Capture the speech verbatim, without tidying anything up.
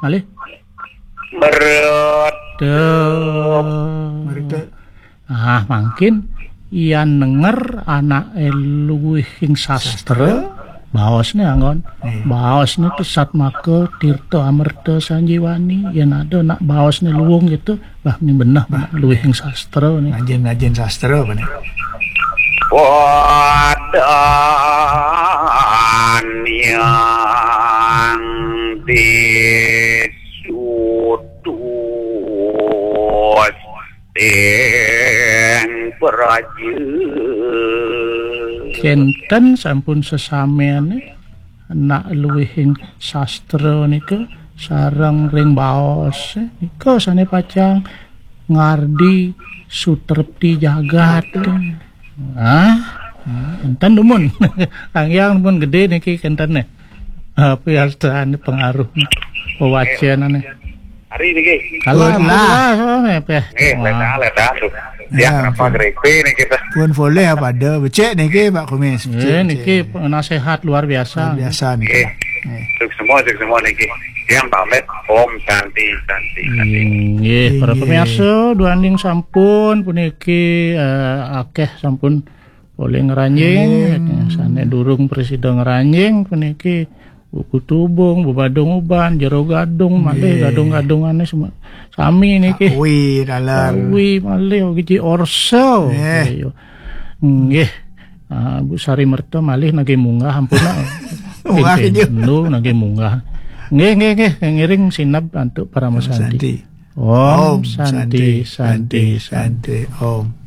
Malih? Meredep. Meredep. Ah, mangkin yan nenger anake luwihing sastra, baosne anggon. Baosne Pesat Maka Tirta Amerta Sanjiwani, yen ada nak baosne luwung gitu, bah, ini beneh nak luwihing sastra nih. Ngajen-ngajen sastra apa nih? Wadan yang disutus deng praja. Kenten sampun sesamene nak luwihing sastra nika sareng ring baos nika sane pacang ngardi sutrepti jagat. Ah, enten dumun. Kangyang dumun gede niki kentene. Apa ya pengaruh pewacenane? Hari niki. Kalau lah, soalnya apa? Nggih, ledah, ledah, tuh. Ya, apa grepe niki, Pak? Pun boleh apa ada becek niki, Pak Kumis? Eh, niki penasehat luar biasa. Luar biasa niki. Nggih. Sukses semua, sukses semua niki. Yang pamit, Om Santi, Santi, Santi. Nggih, para pemirsa, duaning sampun puniki, eh, akeh sampun polih ngranjing, sane durung prasida ngranjing puniki buku tubung, bebadung uban, jero gadung, malih gadung-gadungane sami niki. Kuwi dalan. Kuwi malih giji orso. Ayo. Nggih. Ah, Bu Sari Merta malih nagih munggah ampun nak. Munggah. Nggih, nagih munggah. Nggih, nggih, nggih, ngiring sineb antuk Parama Santi. Om Santi, Santi, Santi, Om.